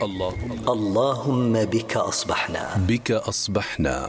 اللهم بك أصبحنا.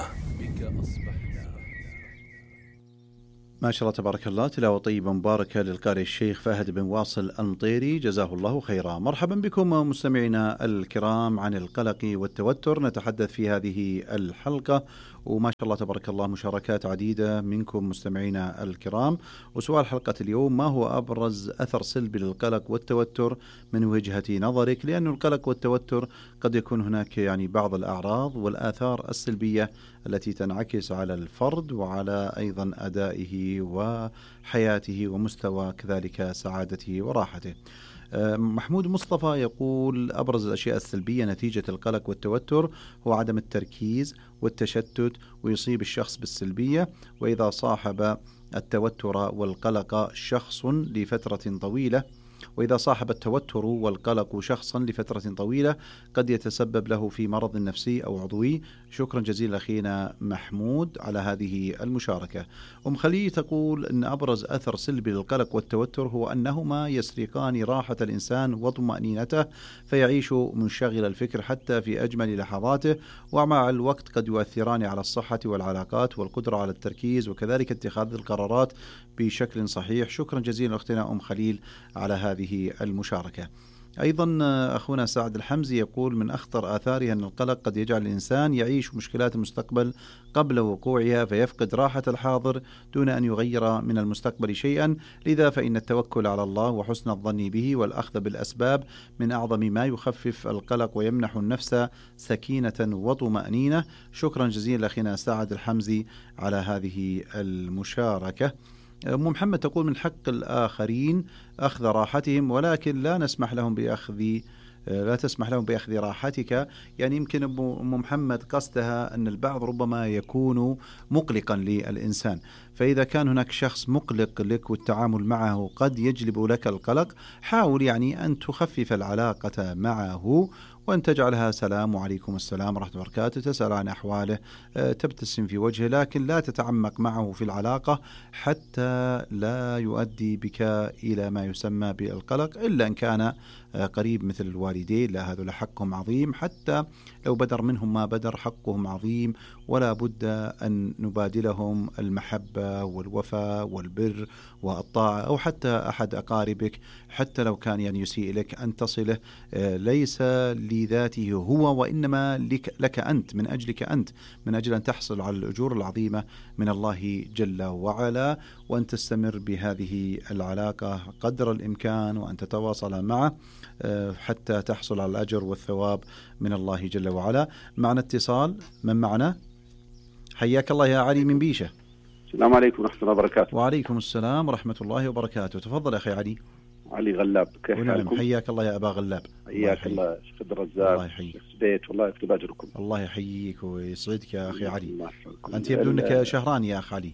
ما شاء الله تبارك الله، تلاوة طيبة مباركة للقارئ الشيخ فهد بن واصل المطيري، جزاه الله خيرا. مرحبا بكم مستمعينا الكرام. عن القلق والتوتر نتحدث في هذه الحلقة، وما شاء الله تبارك الله مشاركات عديدة منكم مستمعينا الكرام. وسؤال حلقة اليوم: ما هو أبرز أثر سلبي للقلق والتوتر من وجهة نظرك؟ لأن القلق والتوتر قد يكون هناك بعض الأعراض والآثار السلبية التي تنعكس على الفرد وعلى أيضا أدائه وحياته ومستوى كذلك سعادته وراحته. محمود مصطفى يقول: أبرز الأشياء السلبية نتيجة القلق والتوتر هو عدم التركيز والتشتت، ويصيب الشخص بالسلبية. وإذا صاحب التوتر والقلق شخص لفترة طويلة شخصا لفترة طويلة قد يتسبب له في مرض نفسي أو عضوي. شكرا جزيلا أخينا محمود على هذه المشاركة. خليل تقول أن أبرز أثر سلبي للقلق والتوتر هو أنهما يسرقان راحة الإنسان وطمأنينته، فيعيش منشغل الفكر حتى في أجمل لحظاته، ومع الوقت قد يؤثران على الصحة والعلاقات والقدرة على التركيز وكذلك اتخاذ القرارات بشكل صحيح. شكرا جزيلا أختنا خليل على هذه المشاركة. أيضا أخونا سعد الحمزي يقول: من أخطر آثارها أن القلق قد يجعل الإنسان يعيش مشكلات المستقبل قبل وقوعها، فيفقد راحة الحاضر دون أن يغير من المستقبل شيئا. لذا فإن التوكل على الله وحسن الظن به والأخذ بالأسباب من أعظم ما يخفف القلق ويمنح النفس سكينة وطمأنينة. شكرا جزيلا أخينا سعد الحمزي على هذه المشاركة. محمد تقول: من حق الآخرين أخذ راحتهم، ولكن لا تسمح لهم بأخذ راحتك. يمكن أم محمد قصدها أن البعض ربما يكون مقلقا للإنسان، فإذا كان هناك شخص مقلق لك والتعامل معه قد يجلب لك القلق، حاول أن تخفف العلاقة معه وأن تجعلها سلام وعليكم السلام ورحمة الله وبركاته، تسأل عن أحواله، تبتسم في وجهه، لكن لا تتعمق معه في العلاقة حتى لا يؤدي بك إلى ما يسمى بالقلق، إلا أن كان قريب مثل الوالدين، لا هذول حقهم عظيم، حتى لو بدر منهم ما بدر حقهم عظيم، ولا بد أن نبادلهم المحبة والوفاء والبر والطاعة. أو حتى أحد أقاربك حتى لو كان يسيء لك أن تصله، ليس لذاته هو وإنما لك أنت، من أجلك أنت، من أجل أن تحصل على الأجور العظيمة من الله جل وعلا، وأن تستمر بهذه العلاقة قدر الإمكان وأن تتواصل معه حتى تحصل على الأجر والثواب من الله جل وعلا. معنا اتصال، من معنا؟ حياك الله يا علي من بيشة. السلام عليكم ورحمة الله وبركاته. وعليكم السلام ورحمة الله وبركاته. تفضل أخي علي. علي غلاب، كيف حالكم؟ حياك الله يا أبا غلاب. حياك الله شيخ عبد الرزاق. الله يحييك. بيت والله يكتب أجركم. الله يحييك ويسعدك يا أخي علي. أنت يبدو أنك شهران يا أخي علي.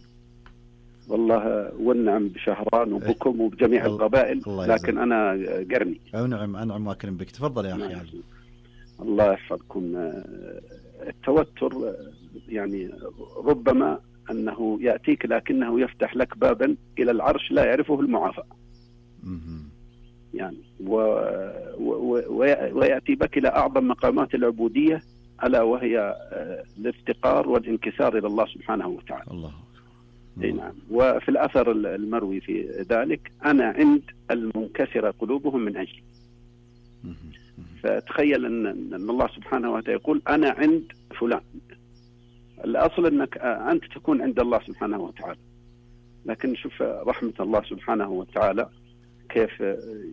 والله والنعم بشهران وبكم وبجميع القبائل، لكن أنا قرني. نعم أنعم وأكرم بك. تفضل يا أخي علي. الله يحفظكم. التوتر ربما أنه يأتيك لكنه يفتح لك بابا إلى العرش لا يعرفه المعافى، ويأتي بك إلى أعظم مقامات العبودية، ألا وهي الافتقار والانكسار إلى الله سبحانه وتعالى. الله. نعم. وفي الأثر المروي في ذلك: أنا عند المنكسر قلوبهم من أجلي. فتخيل أن الله سبحانه وتعالى يقول: أنا عند فلان. الأصل أنك أنت تكون عند الله سبحانه وتعالى، لكن شوف رحمة الله سبحانه وتعالى كيف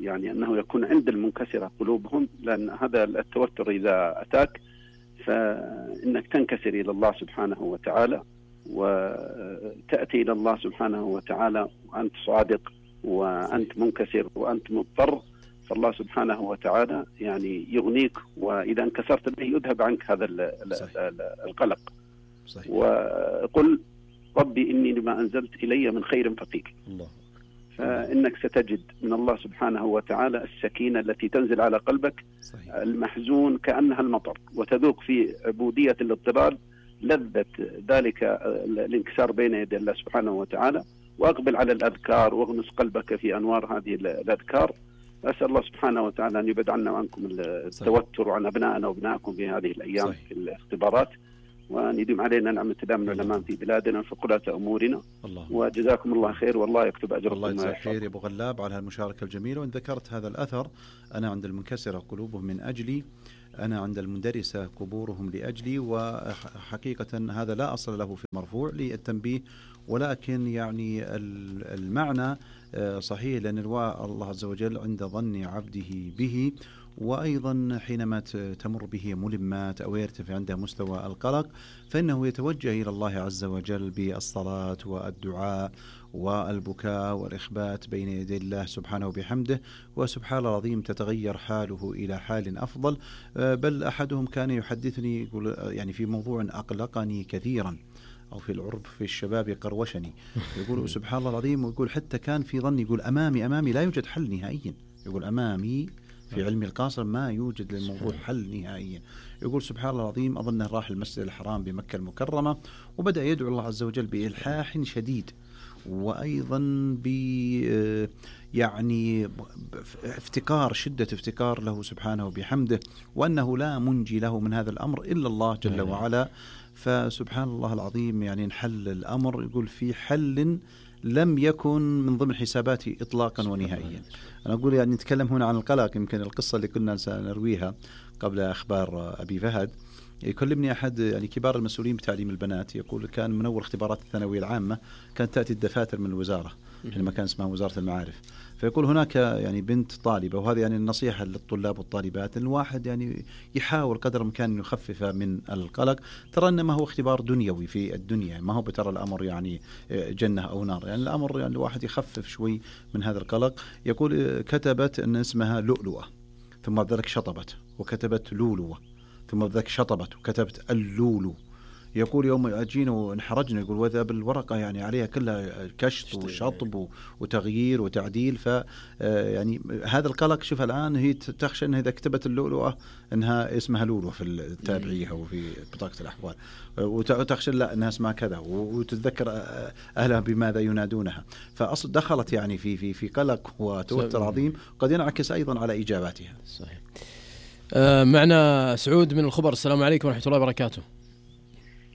أنه يكون عند المنكسرة قلوبهم، لأن هذا التوتر إذا أتاك فإنك تنكسر إلى الله سبحانه وتعالى، وتأتي إلى الله سبحانه وتعالى وأنت صادق وأنت منكسر وأنت مضطر، فالله سبحانه وتعالى يغنيك، وإذا انكسرت به يذهب عنك هذا القلق. صحيح. وقل: ربي إني لما أنزلت إلي من خير فقير. الله. فإنك ستجد من الله سبحانه وتعالى السكينة التي تنزل على قلبك. صحيح. المحزون كأنها المطر، وتذوق في عبودية الاضطرار لذة ذلك الانكسار بين يدي الله سبحانه وتعالى. وأقبل على الأذكار واغمس قلبك في أنوار هذه الأذكار، أسأل الله سبحانه وتعالى أن يبعد عنا وعنكم التوتر وعن أبنائنا وأبنائكم في هذه الأيام. صحيح. في الاختبارات، وأن يديم علينا نعمة دام الأمان في بلادنا في قلة أمورنا. وجزاكم الله خير، والله يكتب أجركم. الله يجزاك خير يا أبو غلاب على هالمشاركة الجميلة. وإن ذكرت هذا الأثر، أنا عند المنكسرة قلوبهم من أجلي، أنا عند المندرسة قبورهم لأجلي. وحقيقة هذا لا أصل له في المرفوع للتنبيه، ولكن يعني المعنى صحيح، لأن الله عز وجل عند ظن عبده به. وأيضا حينما تمر به ملمات أو يرتفع عنده مستوى القلق، فإنه يتوجه إلى الله عز وجل بالصلاة والدعاء والبكاء والإخبات بين يدي الله سبحانه وبحمده. وسبحان الله العظيم تتغير حاله إلى حال أفضل. بل أحدهم كان يحدثني يقول يعني في موضوع أقلقني كثيرا، أو في العرب في الشباب يقروشني، يقول سبحان الله العظيم، ويقول حتى كان في ظني يقول أمامي لا يوجد حل نهائيا، يقول أمامي في علم القاصر ما يوجد للموضوع حل نهائيا. يقول سبحان الله العظيم أظنه راح المسجد الحرام بمكة المكرمة وبدأ يدعو الله عز وجل بإلحاح شديد، وأيضا يعني شدة افتكار له سبحانه وبحمده، وأنه لا منجي له من هذا الأمر إلا الله جل وعلا. فسبحان الله العظيم يعني انحل الأمر. يقول في حل لم يكن من ضمن حساباتي إطلاقا ونهائيا. أنا أقول يعني نتكلم هنا عن القلق، يمكن القصة اللي كنا سنرويها قبل أخبار أبي فهد. يكلمني أحد يعني كبار المسؤولين بتعليم البنات، يقول كان من أول اختبارات الثانوية العامة كانت تأتي الدفاتر من الوزارة، لما كان اسمها وزارة المعارف. فيقول هناك يعني بنت طالبة، وهذه يعني النصيحة للطلاب والطالبات، أن الواحد يعني يحاول قدر الإمكان يخفف من القلق. ترى أن ما هو اختبار دنيوي في الدنيا، ما هو بترى الأمر يعني جنة أو نار، يعني الأمر يعني الواحد يخفف شوي من هذا القلق. يقول كتبت أن اسمها لؤلؤة، ثم ذلك شطبت وكتبت لولوة، ثم ذلك شطبت وكتبت اللولو. يقول يوم أجينا وانحرجنا، يقول وذا بالورقة يعني عليها كلها كشط وشطب وتغيير وتعديل. يعني هذا القلق، شوف الآن هي تخشى أنها إذا كتبت اللؤلؤة أنها اسمها لولو في التابعية أو في بطاقة الأحوال، وتخشى لا أنها اسمها كذا، وتتذكر أهلها بماذا ينادونها. فأصل دخلت يعني في قلق وتوتر عظيم، قد ينعكس أيضا على إجاباتها. صحيح. معنا سعود من الخبر. السلام عليكم ورحمة الله وبركاته.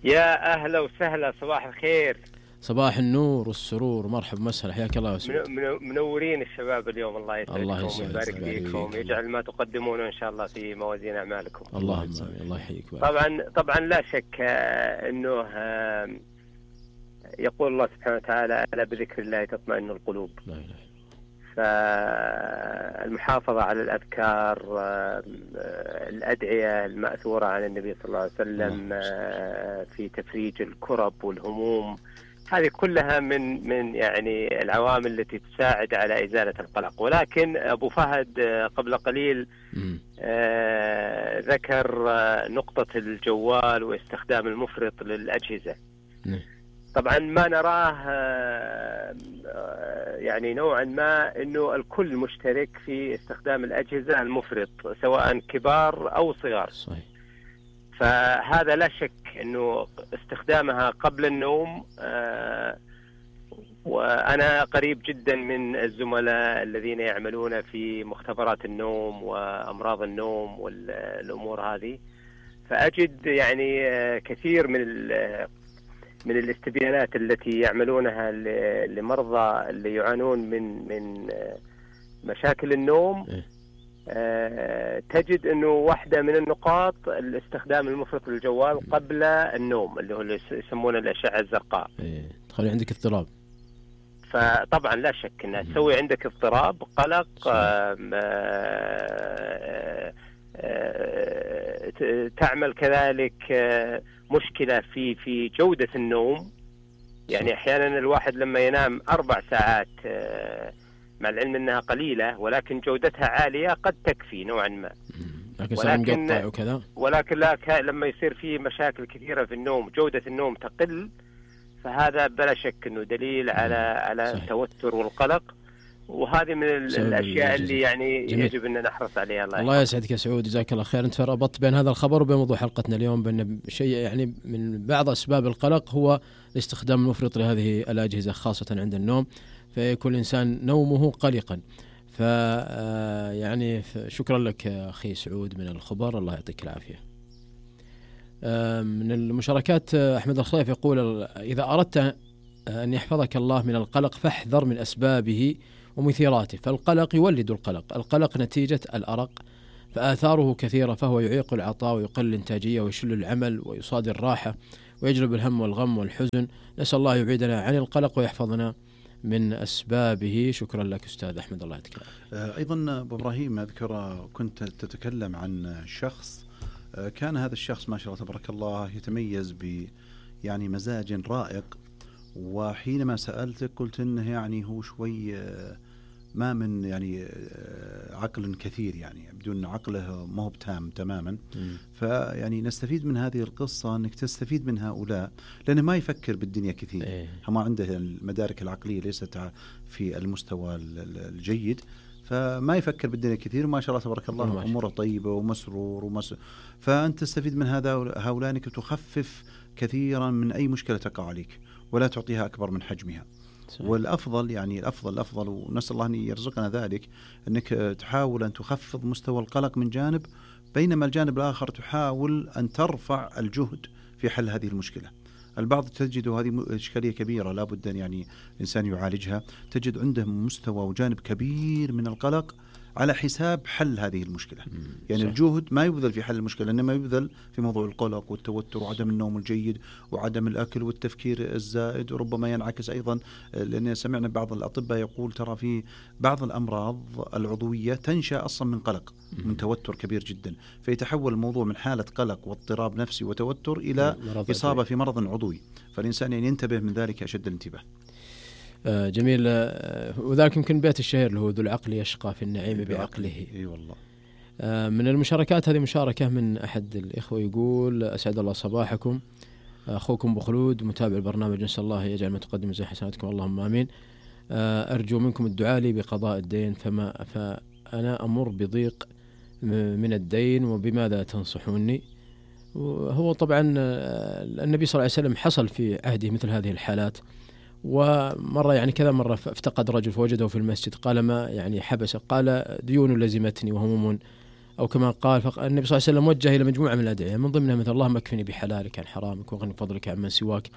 يا أهلا وسهلا، صباح الخير. صباح النور والسرور، مرحبا مسهلا، حياك الله يا سعود. منورين الشباب اليوم، الله يسعدكم ويبارك فيكم، يجعل ما تقدمونه إن شاء الله في موازين أعمالكم. الله يحييك. طبعا لا شك أنه يقول الله سبحانه وتعالى ألا بذكر الله تطمئن القلوب. لا إله. فالمحافظة على الأذكار، الأدعية المأثورة عن النبي صلى الله عليه وسلم في تفريج الكرب والهموم، هذه كلها من يعني العوامل التي تساعد على إزالة القلق. ولكن أبو فهد قبل قليل ذكر نقطة الجوال واستخدام المفرط للأجهزة. طبعا ما نراه يعني نوعا ما أنه الكل مشترك في استخدام الأجهزة المفرط، سواء كبار أو صغار. صحيح. فهذا لا شك أنه استخدامها قبل النوم، وأنا قريب جدا من الزملاء الذين يعملون في مختبرات النوم وأمراض النوم والأمور هذه، فأجد يعني كثير من الاستبيانات التي يعملونها لمرضى اللي يعانون من مشاكل النوم. تجد أنه واحدة من النقاط الاستخدام المفرط للجوال قبل النوم، اللي هو يسمونه الأشعة الزرقاء. تخلي عندك اضطراب. فطبعا لا شك أنها تسوي عندك اضطراب، قلق، تعمل كذلك مشكلة في جودة النوم. يعني أحيانا الواحد لما ينام 4 ساعات، مع العلم أنها قليلة ولكن جودتها عالية، قد تكفي نوعا ما، ولكن لما يصير فيه مشاكل كثيرة في النوم، جودة النوم تقل، فهذا بلا شك أنه دليل على التوتر والقلق. وهذه من الأشياء اللي يعني يجب أن نحرص عليها. الله يسعدك يا سعود، جزاك الله خير. أنت ربطت بين هذا الخبر وبين موضوع حلقتنا اليوم، بأن شيء يعني من بعض أسباب القلق هو الاستخدام المفرط لهذه الأجهزة خاصة عند النوم، فيكون الإنسان نومه قلقا. يعني شكرا لك أخي سعود من الخبر، الله يعطيك العافية. من المشاركات أحمد الخليف يقول: إذا أردت أن يحفظك الله من القلق فاحذر من أسبابه ومثيراته، فالقلق يولد القلق نتيجة الأرق، فآثاره كثيرة، فهو يعيق العطاء ويقل الإنتاجية ويشل العمل ويصادر الراحة ويجلب الهم والغم والحزن. نسأل الله يبعدنا عن القلق ويحفظنا من أسبابه. شكرا لك أستاذ أحمد، الله يعطيك العافية. أيضا أبو إبراهيم أذكر كنت تتكلم عن شخص كان هذا الشخص ما شاء الله تبارك الله يتميز يعني مزاج رائق، وحينما سألتك قلت إنه يعني هو شوي ما من يعني عقل كثير، يعني بدون عقله ما هو تام تماما. فيعني نستفيد من هذه القصة أنك تستفيد من هؤلاء، لأنه ما يفكر بالدنيا كثير، ما عنده المدارك العقلية ليست في المستوى الجيد، فما يفكر بالدنيا كثير، وما شاء الله تبارك الله أموره طيبة ومسرور فأنت تستفيد من هؤلاء أنك تخفف كثيرا من أي مشكلة تقع عليك ولا تعطيها أكبر من حجمها. والأفضل يعني الأفضل ونسأل الله أن يرزقنا ذلك، أنك تحاول أن تخفض مستوى القلق من جانب، بينما الجانب الآخر تحاول أن ترفع الجهد في حل هذه المشكلة. البعض تجد هذه إشكالية كبيرة لا بد أن يعني الإنسان يعالجها، تجد عنده مستوى وجانب كبير من القلق على حساب حل هذه المشكلة. يعني صح. الجهد ما يبذل في حل المشكلة، إنما يبذل في موضوع القلق والتوتر وعدم النوم الجيد وعدم الأكل والتفكير الزائد، وربما ينعكس أيضا، لأن سمعنا بعض الأطباء يقول ترى في بعض الأمراض العضوية تنشأ أصلا من قلق، من توتر كبير جدا، فيتحول الموضوع من حالة قلق واضطراب نفسي وتوتر إلى إصابة في مرض عضوي، فالإنسان يعني ينتبه من ذلك أشد الانتباه. جميل. وذلك يمكن بيت الشهير اللي هو ذو العقل يشقى في النعيم بعقله. اي والله. من المشاركات هذه مشاركة من أحد الإخوة يقول: أسعد الله صباحكم، أخوكم بخلود متابع البرنامج، نسأل الله يجعل ما تقدم زي حسناتكم، اللهم آمين. أرجو منكم الدعاء لي بقضاء الدين، فأنا أمر بضيق من الدين، وبماذا تنصحوني؟ وهو طبعا النبي صلى الله عليه وسلم حصل في عهده مثل هذه الحالات، ومرة يعني كذا مرة افتقد رجل فوجده في المسجد، قال ما يعني حبسه؟ قال ديون لزمتني وهموم، أو كما قال. فالنبي صلى الله عليه وسلم وجه إلى مجموعة من الأدعية، من ضمنها مثل اللهم اكفني بحلالك عن حرامك وغني بفضلك عن من سواك.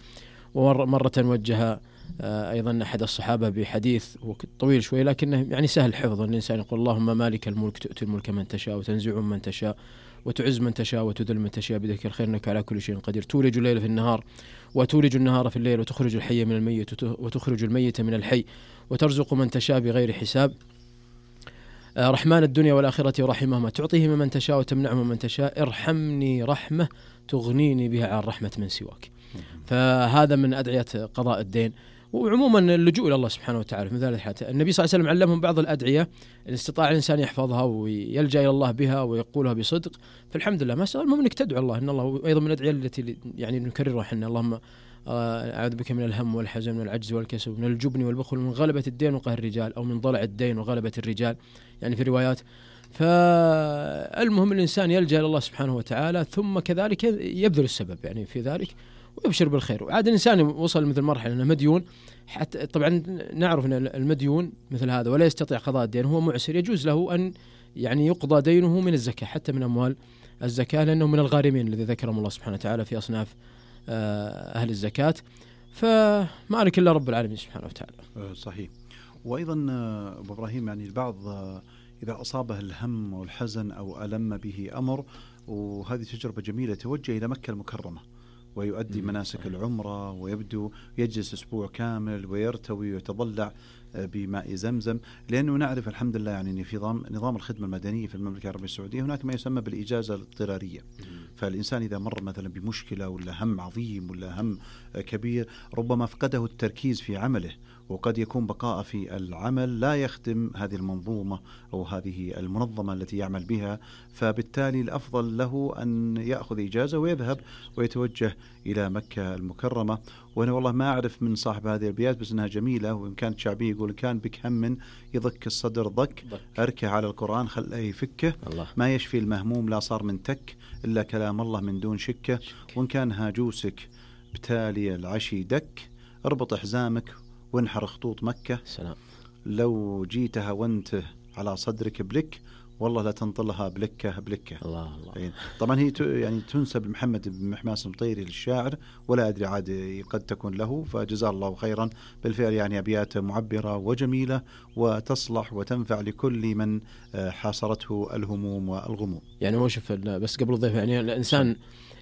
ومرة وجه أيضا أحد الصحابة بحديث طويل شوي لكنه يعني سهل حفظه، الإنسان يقول: اللهم مالك الملك تؤتي الملك من تشاء وتنزع من تشاء وتعز من تشاء وتذل من تشاء بيدك الخير إنك على كل شيء قدير، تولج الليل في النهار وتولج النهار في الليل، وتخرج الحي من الميت وتخرج الميت من الحي، وترزق من تشاء بغير حساب، رحمن الدنيا والآخرة ورحمهما، تعطيه من تشاء وتمنعه من تشاء، ارحمني رحمة تغنيني بها عن رحمة من سواك. فهذا من أدعية قضاء الدين، وعموما اللجوء إلى الله سبحانه وتعالى. مثل الحالة النبي صلى الله عليه وسلم علمهم بعض الأدعية إن استطاع الإنسان يحفظها ويلجأ إلى الله بها ويقولها بصدق، فالحمد لله. ما سأل المهم أنك تدعو الله، إن الله أيضا من الأدعية التي يعني نكررها حنا: اللهم أعوذ بك من الهم والحزن من العجز والكسل من الجبن والبخل من غلبة الدين وقهر الرجال، أو من ضلع الدين وغلبة الرجال، يعني في روايات. فالمهم الإنسان يلجأ إلى الله سبحانه وتعالى، ثم كذلك يبذل السبب يعني في ذلك ويبشر بالخير. وعاد الإنسان وصل مثل مرحلة أنه مديون، حتى طبعا نعرف أن المديون مثل هذا ولا يستطيع قضاء الدين، هو معسر، يجوز له أن يعني يقضى دينه من الزكاة، حتى من أموال الزكاة، لأنه من الغارمين الذي ذكرهم الله سبحانه وتعالى في أصناف أهل الزكاة. فما لك إلا رب العالمين سبحانه وتعالى. صحيح. وأيضا أبو إبراهيم يعني البعض إذا أصابه الهم والحزن أو ألم به أمر، وهذه تجربة جميلة، توجه إلى مكة المكرمة ويؤدي مناسك العمرة، ويبدو يجلس أسبوع كامل ويرتوي ويتضلع بماء زمزم، لأنه نعرف الحمد لله يعني في نظام الخدمة المدنية في المملكة العربية السعودية هناك ما يسمى بالإجازة الاضطرارية. فالإنسان إذا مر مثلا بمشكلة ولا هم عظيم ولا هم كبير، ربما فقده التركيز في عمله، وقد يكون بقاء في العمل لا يخدم هذه المنظومة أو هذه المنظمة التي يعمل بها، فبالتالي الأفضل له أن يأخذ إجازة ويذهب ويتوجه إلى مكة المكرمة. وأنا والله ما أعرف من صاحب هذه الأبيات، بس أنها جميلة وإن كانت شعبية، يقول: كان بك هم يضك الصدر ضك، أركه على القرآن خليه يفكه، ما يشفي المهموم لا صار من تك إلا كلام الله من دون شكه، وإن كان هاجوسك بتالي العشي دك، اربط حزامك وانحر خطوط مكة، سلام. لو جيتها وانت على صدرك بلك، والله لا تنطلها بلكة. الله الله. طبعا هي يعني تنسب لمحمد بن محماس المطيري للشاعر، ولا أدري عاد قد تكون له، فجزاه الله خيرا. بالفعل يعني أبيات معبرة وجميلة وتصلح وتنفع لكل من حاصرته الهموم والغموم. يعني هو شوف، بس قبل الضيف، يعني الإنسان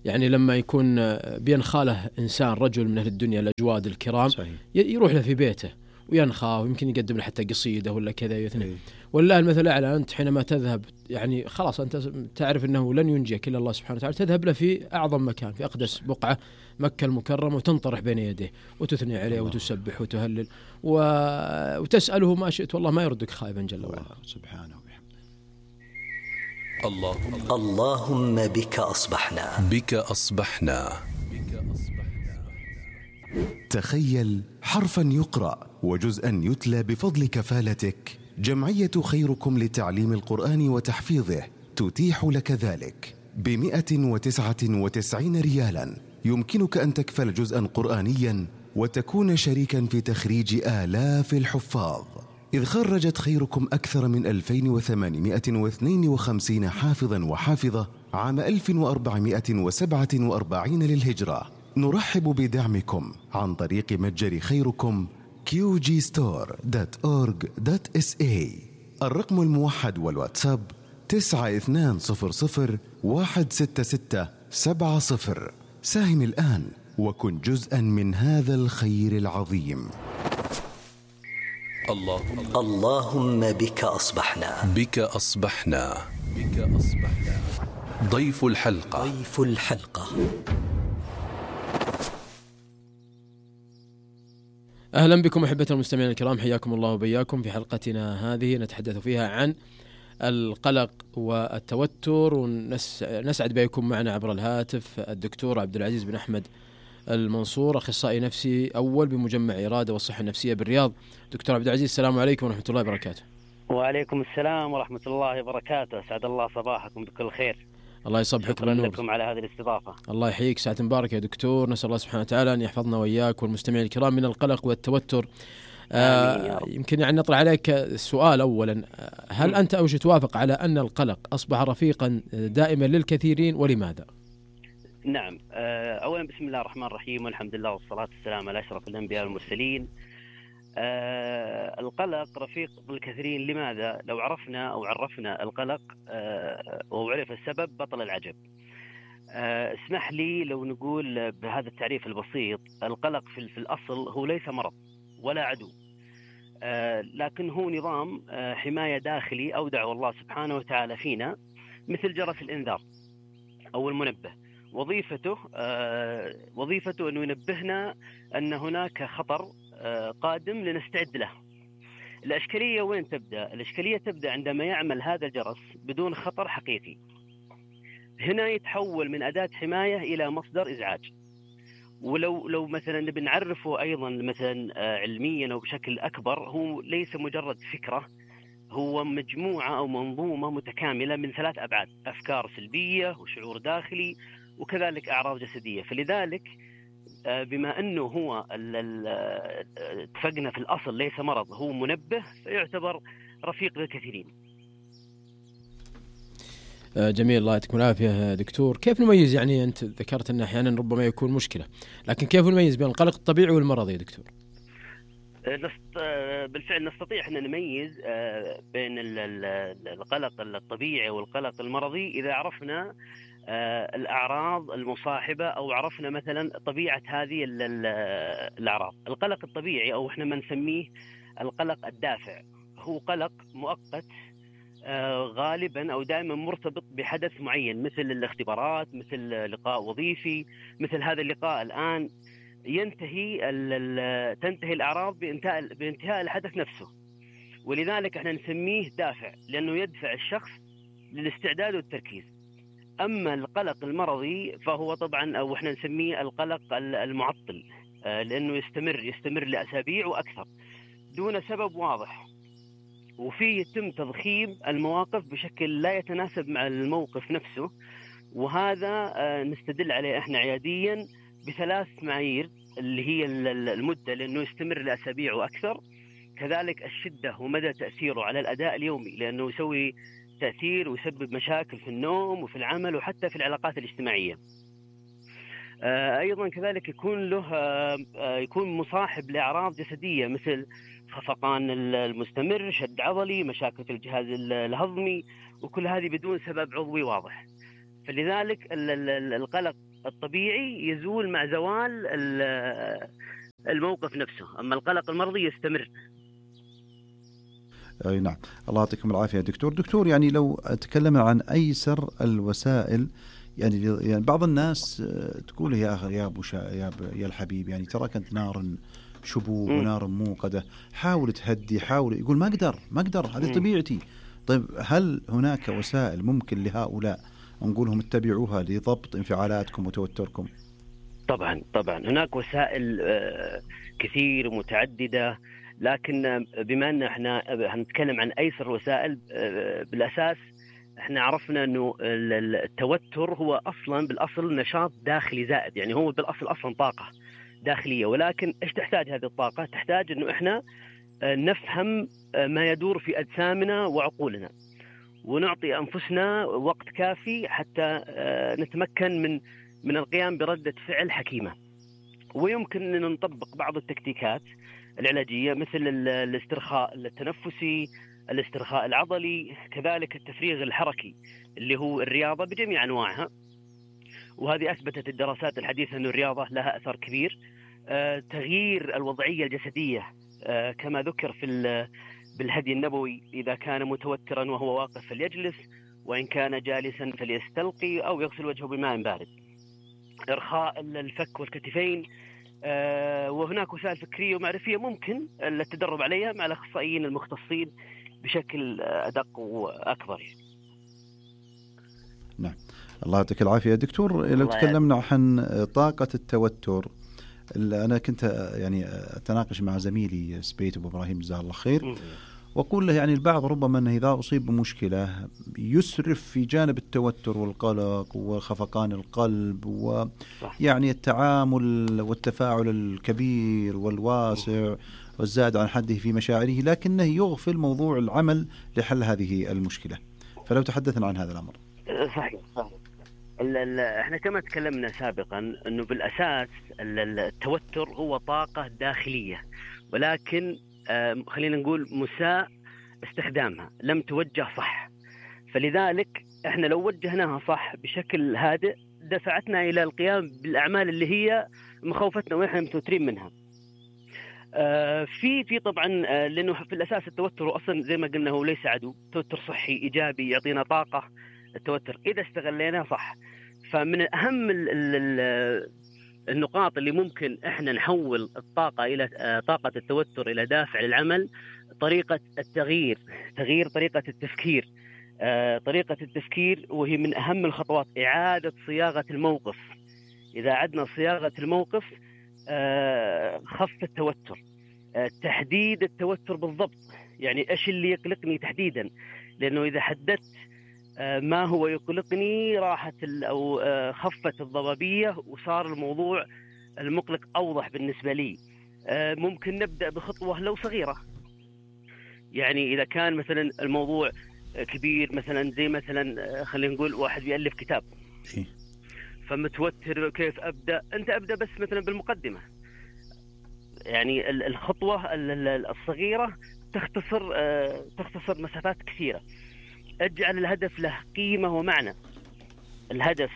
يعني لما يكون بينخاله إنسان رجل من أهل الدنيا الأجواد الكرام، صحيح. يروح له في بيته وينخاه، ويمكن يقدم له حتى قصيدة ولا كذا يثني. والله المثل الأعلى، أنت حينما تذهب يعني خلاص أنت تعرف أنه لن ينجيك إلا الله سبحانه وتعالى، تذهب له في أعظم مكان، في أقدس بقعة مكة المكرمة، وتنطرح بين يديه وتثني عليه وتسبح وتهلل وتسأله ما شئت، والله ما يردك خائبا جل وعلا سبحانه وبحمده. اللهم بك أصبحنا. تخيل حرفا يقرأ وجزءا يتلى بفضل كفالتك. جمعية خيركم لتعليم القرآن وتحفيظه تتيح لك ذلك ب199 ريالا. يمكنك أن تكفل جزءا قرآنيا وتكون شريكا في تخريج آلاف الحفاظ، إذ خرجت خيركم أكثر من 2852 حافظا وحافظة عام 1447 للهجرة. نرحب بدعمكم عن طريق متجر خيركم qgstore.org.sa. الرقم الموحد والواتساب 9200166770. ساهم الآن وكن جزءا من هذا الخير العظيم. اللهم بك أصبحنا. ضيف الحلقة. أهلا بكم أحبة المستمعين الكرام، حياكم الله وبياكم في حلقتنا هذه نتحدث فيها عن القلق والتوتر، ونسعد بكم معنا عبر الهاتف الدكتور عبد العزيز بن أحمد المنصور، أخصائي نفسي أول بمجمع إرادة والصحة النفسية بالرياض. دكتور عبد العزيز، السلام عليكم ورحمة الله وبركاته. وعليكم السلام ورحمة الله وبركاته، سعد الله صباحكم بكل خير. الله يصبحك بالنور. شكرا لكم على هذه الاستضافة. الله يحييك، ساعة مباركة يا دكتور. نسأل الله سبحانه وتعالى أن يحفظنا وإياك والمستمعين الكرام من القلق والتوتر. يمكن يعني نطرح عليك السؤال أولا، هل أنت أو توافق على أن القلق أصبح رفيقا دائما للكثيرين، ولماذا؟ نعم، أولا بسم الله الرحمن الرحيم، والحمد لله والصلاة والسلام على أشرف الأنبياء والمرسلين. القلق رفيق بالكثيرين، لماذا؟ لو عرفنا أو عرفنا القلق وعرف السبب بطل العجب. اسمح لي لو نقول بهذا التعريف البسيط، القلق في الأصل هو ليس مرض ولا عدو، لكن هو نظام حماية داخلي أودعه الله سبحانه وتعالى فينا، مثل جرس الإنذار أو المنبه. وظيفته أنه ينبهنا أن هناك خطر قادم لنستعد له. الإشكالية وين تبدأ؟ الإشكالية تبدأ عندما يعمل هذا الجرس بدون خطر حقيقي. هنا يتحول من أداة حماية إلى مصدر إزعاج. ولو مثلا بنعرفه أيضا مثلا علميا أو بشكل أكبر، هو ليس مجرد فكرة، هو مجموعة أو منظومة متكاملة من 3 أبعاد: أفكار سلبية وشعور داخلي وكذلك أعراض جسدية. فلذلك بما أنه هو اتفقنا في الأصل ليس مرض، هو منبه، فيعتبر رفيق للكثيرين. جميل، الله يعطيكم العافية دكتور. كيف نميز، يعني أنت ذكرت أن أحيانا ربما يكون مشكلة، لكن كيف نميز بين القلق الطبيعي والمرضي يا دكتور؟ بالفعل نستطيع أن نميز بين القلق الطبيعي والقلق المرضي إذا عرفنا الأعراض المصاحبة، أو عرفنا مثلا طبيعة هذه الأعراض. القلق الطبيعي أو إحنا ما نسميه القلق الدافع، هو قلق مؤقت غالبا أو دائما مرتبط بحدث معين، مثل الاختبارات، مثل لقاء وظيفي، مثل هذا اللقاء الآن. تنتهي الأعراض بانتهاء الحدث نفسه، ولذلك احنا نسميه دافع، لأنه يدفع الشخص للاستعداد والتركيز. أما القلق المرضي فهو طبعا أو احنا نسميه القلق المعطل، لأنه يستمر لأسابيع وأكثر دون سبب واضح، وفيه يتم تضخيم المواقف بشكل لا يتناسب مع الموقف نفسه. وهذا نستدل عليه احنا عياديا ب3 معايير، اللي هي المدة، لأنه يستمر لأسابيع وأكثر، كذلك الشدة ومدى تأثيره على الأداء اليومي، لأنه يسوي تأثير ويسبب مشاكل في النوم وفي العمل وحتى في العلاقات الاجتماعية. أيضا كذلك يكون مصاحب لأعراض جسدية مثل خفقان المستمر، شد عضلي، مشاكل في الجهاز الهضمي، وكل هذه بدون سبب عضوي واضح. فلذلك القلق الطبيعي يزول مع زوال الموقف نفسه، أما القلق المرضي يستمر. أي نعم، الله يعطيكم العافية دكتور. يعني لو تكلمنا عن أيسر الوسائل، يعني بعض الناس تقول يا أبو يا الحبيب، يعني ترى كنت نار شبوب ونار موقدة، حاول تهدي، حاول، يقول ما أقدر هذه طبيعتي. طيب هل هناك وسائل ممكن لهؤلاء نقولهم اتبعوها لضبط انفعالاتكم وتوتركم؟ طبعا هناك وسائل كثير ومتعددة، لكن بما أن احنا هنتكلم عن أيسر الوسائل، بالأساس احنا عرفنا أنه التوتر هو بالأصل نشاط داخلي زائد، يعني هو بالأصل أصلا طاقة داخلية، ولكن ايش تحتاج هذه الطاقة؟ تحتاج أنه احنا نفهم ما يدور في أجسامنا وعقولنا، ونعطي أنفسنا وقت كافي حتى نتمكن من القيام بردة فعل حكيمة. ويمكن أن نطبق بعض التكتيكات العلاجية مثل الاسترخاء التنفسي، الاسترخاء العضلي، كذلك التفريغ الحركي اللي هو الرياضة بجميع أنواعها، وهذه أثبتت الدراسات الحديثة أن الرياضة لها أثر كبير. تغيير الوضعية الجسدية كما ذكر بالهدي النبوي، إذا كان متوترا وهو واقف فليجلس، وإن كان جالسا فليستلقي أو يغسل وجهه بماء بارد. إرخاء الفك والكتفين، وهناك وسائل فكرية ومعرفية ممكن التدرب عليها مع الأخصائيين المختصين بشكل أدق وأكبر. نعم، الله يعطيك العافية دكتور. لو تكلمنا عن طاقة التوتر، أنا كنت يعني أتناقش مع زميلي سبيت أبو إبراهيم جزاه الله خير، وأقول له يعني البعض ربما أنه إذا أصيب بمشكلة يسرف في جانب التوتر والقلق وخفقان القلب، ويعني التعامل والتفاعل الكبير والواسع والزاد عن حده في مشاعره، لكنه يغفل موضوع العمل لحل هذه المشكلة. فلو تحدثنا عن هذا الأمر. صحيح. احنا كما تكلمنا سابقا أنه بالأساس التوتر هو طاقة داخلية، ولكن خلينا نقول مساء استخدامها، لم توجه صح. فلذلك احنا لو وجهناها صح بشكل هادئ دفعتنا إلى القيام بالأعمال اللي هي مخاوفتنا ونحن متوترين منها. في طبعا لأنه في الأساس التوتر أصلا زي ما قلنا هو ليس عدو، توتر صحي إيجابي يعطينا طاقة التوتر إذا استغليناه صح. فمن أهم النقاط اللي ممكن احنا نحول الطاقة إلى طاقة التوتر إلى دافع للعمل، طريقة التغيير، تغيير طريقة التفكير. طريقة التفكير وهي من أهم الخطوات، إعادة صياغة الموقف. إذا عدنا صياغة الموقف خف التوتر. تحديد التوتر بالضبط، يعني إيش اللي يقلقني تحديدا، لأنه إذا حددت ما هو يقلقني راحت أو خفت الضبابية وصار الموضوع المقلق أوضح بالنسبة لي. ممكن نبدأ بخطوة لو صغيرة، يعني إذا كان مثلا الموضوع كبير، مثلا زي مثلا خلينا نقول واحد بيألف كتاب فمتوتر كيف أبدأ، أنت أبدأ بس مثلا بالمقدمة. يعني الخطوة الصغيرة تختصر مسافات كثيرة. اجعل الهدف له قيمة ومعنى. الهدف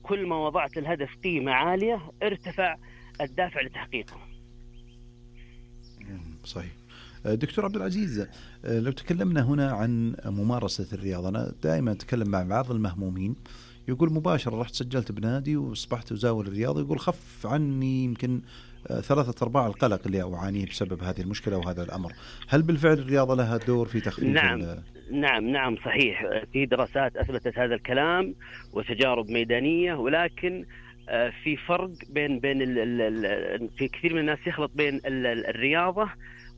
كل ما وضعت الهدف قيمة عالية ارتفع الدافع لتحقيقه. صحيح. دكتور عبد العزيز، لو تكلمنا هنا عن ممارسة الرياضة، أنا دائما أتكلم مع بعض المهمومين يقول مباشرة رحت سجلت بنادي وأصبحت أزاول الرياضة، يقول خف عني يمكن 3/4 القلق اللي أعانيه بسبب هذه المشكلة وهذا الأمر. هل بالفعل الرياضة لها دور في تخفيف؟ نعم صحيح. في دراسات أثبتت هذا الكلام وتجارب ميدانية، ولكن في فرق بين في كثير من الناس يخلط بين الرياضة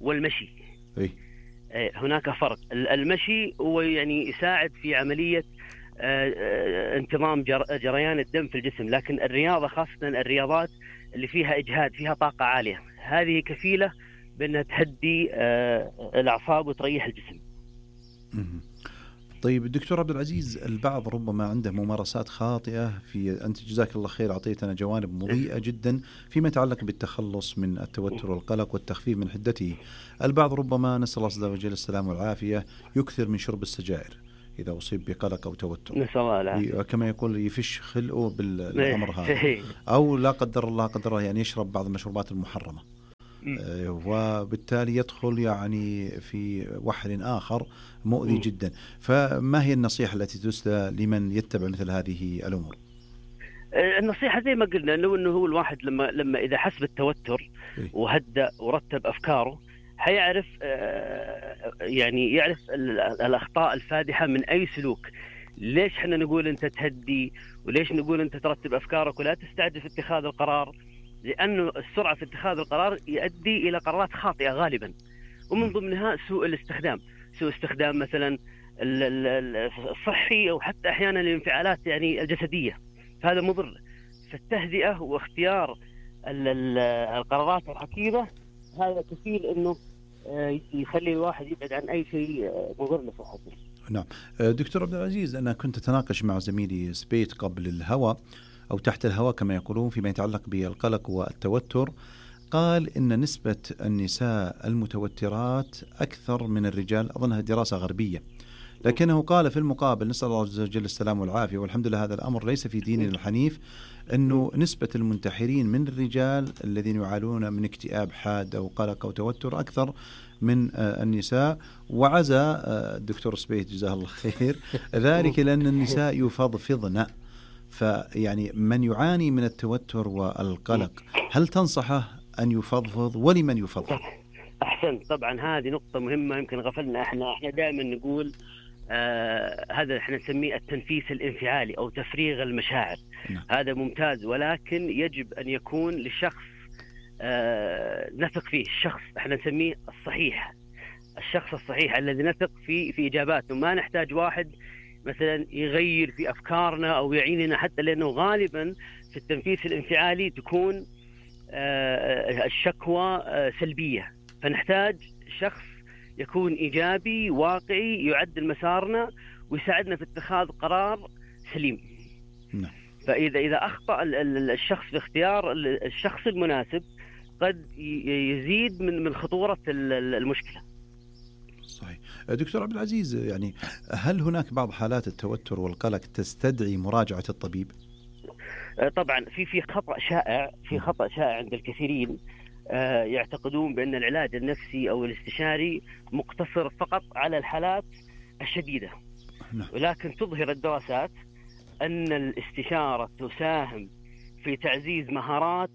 والمشي. هناك فرق. المشي هو يعني يساعد في عملية انتظام جريان الدم في الجسم، لكن الرياضة خاصة الرياضات اللي فيها إجهاد، فيها طاقة عالية، هذه كفيلة بأنها تهدي الأعصاب وتريح الجسم. طيب دكتور عبد العزيز، البعض ربما عنده ممارسات خاطئة أنت جزاك الله خير أعطيتنا جوانب مضيئة جدا فيما يتعلق بالتخلص من التوتر والقلق والتخفيف من حدته. البعض ربما، نسأل الله عز وجل السلامة والعافية، يكثر من شرب السجائر إذا أصيب بقلق أو توتر، نسأل الله العافية، كما يقول يفش خلقه بالأمر هذا، أو لا قدر الله يعني يشرب بعض المشروبات المحرمة، وبالتالي يدخل يعني في وحر آخر مؤذي جدا. فما هي النصيحة التي تسدى لمن يتبع مثل هذه الأمور؟ النصيحة زي ما قلنا إنه هو الواحد لما إذا حس بالتوتر وهدأ ورتب أفكاره حيعرف يعني يعرف الأخطاء الفادحة من أي سلوك. ليش احنا نقول أنت تهدي، وليش نقول أنت ترتب أفكارك ولا تستعجل في اتخاذ القرار؟ لأنه السرعة في اتخاذ القرار يؤدي إلى قرارات خاطئة غالبا، ومن ضمنها سوء استخدام مثلا الصحي أو حتى أحيانا الانفعالات يعني الجسدية، فهذا مضر. فالتهدئة واختيار القرارات الحكيمة هذا كفيل إنه يخلي الواحد يبعد عن أي شيء مضر لصحته. نعم دكتور عبد العزيز، أنا كنت أتناقش مع زميلي سبيت قبل الهواء أو تحت الهواء كما يقولون فيما يتعلق بالقلق والتوتر. قال إن نسبة النساء المتوترات أكثر من الرجال، أظنها دراسة غربية، لكنه قال في المقابل، نسأل الله عز وجل السلام والعافية والحمد لله هذا الأمر ليس في ديننا الحنيف، أنه نسبة المنتحرين من الرجال الذين يعانون من اكتئاب حاد أو قلق أو توتر أكثر من النساء. وعزى الدكتور سبيت جزاه الله خير ذلك لأن النساء يفضفضن. فيعني من يعاني من التوتر والقلق هل تنصحه أن يفضفض، ولمن يفضفض؟ أحسن، طبعا هذه نقطة مهمة يمكن غفلنا. احنا دائما نقول هذا احنا نسميه التنفيس الانفعالي أو تفريغ المشاعر. هذا ممتاز، ولكن يجب أن يكون للشخص نثق فيه، الشخص احنا نسميه الشخص الصحيح الذي نثق في إجاباته. ما نحتاج واحد مثلا يغير في أفكارنا أو يعيننا، حتى لأنه غالبا في التنفيس الانفعالي تكون الشكوى سلبية، فنحتاج شخص يكون إيجابي واقعي يعدل مسارنا ويساعدنا في اتخاذ قرار سليم. فإذا أخطأ الشخص في اختيار الشخص المناسب قد يزيد من خطورة المشكلة. صحيح. دكتور عبد العزيز، يعني هل هناك بعض حالات التوتر والقلق تستدعي مراجعة الطبيب؟ طبعا في خطأ شائع عند الكثيرين، يعتقدون بأن العلاج النفسي أو الاستشاري مقتصر فقط على الحالات الشديدة. ولكن تظهر الدراسات أن الاستشارة تساهم في تعزيز مهارات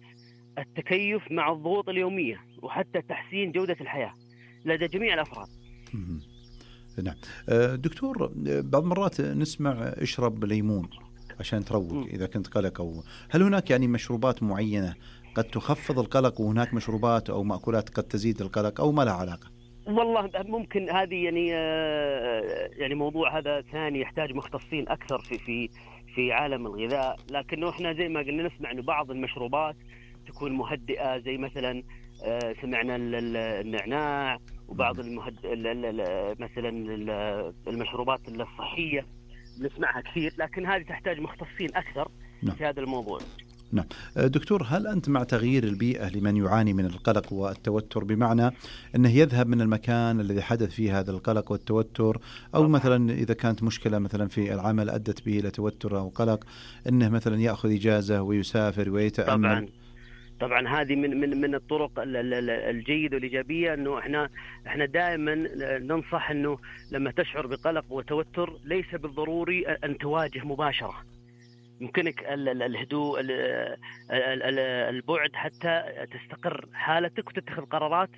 التكيف مع الضغوط اليومية وحتى تحسين جودة الحياة لدى جميع الأفراد. نعم دكتور، بعض المرات نسمع اشرب ليمون عشان تروق إذا كنت قلق، أو هل هناك يعني مشروبات معينة قد تخفض القلق، وهناك مشروبات أو مأكولات قد تزيد القلق، أو ما لها علاقة؟ والله ممكن هذه يعني موضوع هذا ثاني يحتاج مختصين أكثر في عالم الغذاء. لكنه إحنا زي ما قلنا نسمع إنه بعض المشروبات تكون مهدئة، زي سمعنا النعناع، وبعض مثلا المشروبات الصحية نسمعها كثير، لكن هذه تحتاج مختصين أكثر في هذا الموضوع. نعم دكتور، هل أنت مع تغيير البيئة لمن يعاني من القلق والتوتر، بمعنى أنه يذهب من المكان الذي حدث فيه هذا القلق والتوتر، أو مثلا إذا كانت مشكلة مثلا في العمل أدت به إلى توتر أو قلق أنه مثلا يأخذ إجازة ويسافر ويتأمل؟ طبعا هذه من الطرق الجيدة والإيجابية، أنه احنا دائما ننصح أنه لما تشعر بقلق وتوتر ليس بالضروري أن تواجه مباشرة. يمكنك الهدوء، البعد حتى تستقر حالتك وتتخذ قرارات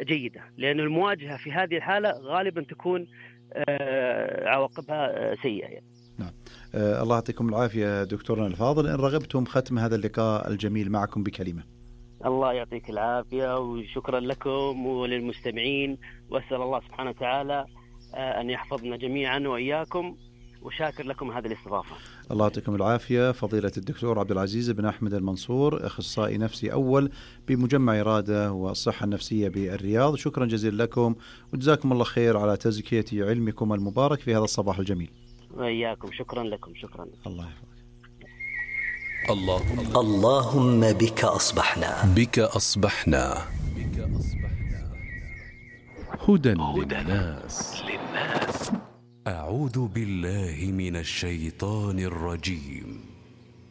جيدة، لأن المواجهة في هذه الحالة غالبا تكون عواقبها سيئة يعني. نعم الله يعطيكم العافية دكتورنا الفاضل. إن رغبتم ختم هذا اللقاء الجميل معكم بكلمة. الله يعطيك العافية وشكرا لكم وللمستمعين، وأسأل الله سبحانه وتعالى أن يحفظنا جميعا وإياكم، وشاكر لكم هذه الاستضافة. الله يعطيكم العافية. فضيلة الدكتور عبد العزيز بن أحمد المنصور، أخصائي نفسي أول بمجمع إرادة والصحة النفسية بالرياض، شكرا جزيلا لكم وجزاكم الله خير على تزكية علمكم المبارك في هذا الصباح الجميل. وإياكم، شكرا لكم. شكرا. الله يحفظك. اللهم بك أصبحنا. بك أصبحنا. هدى للناس. أعوذ بالله من الشيطان الرجيم.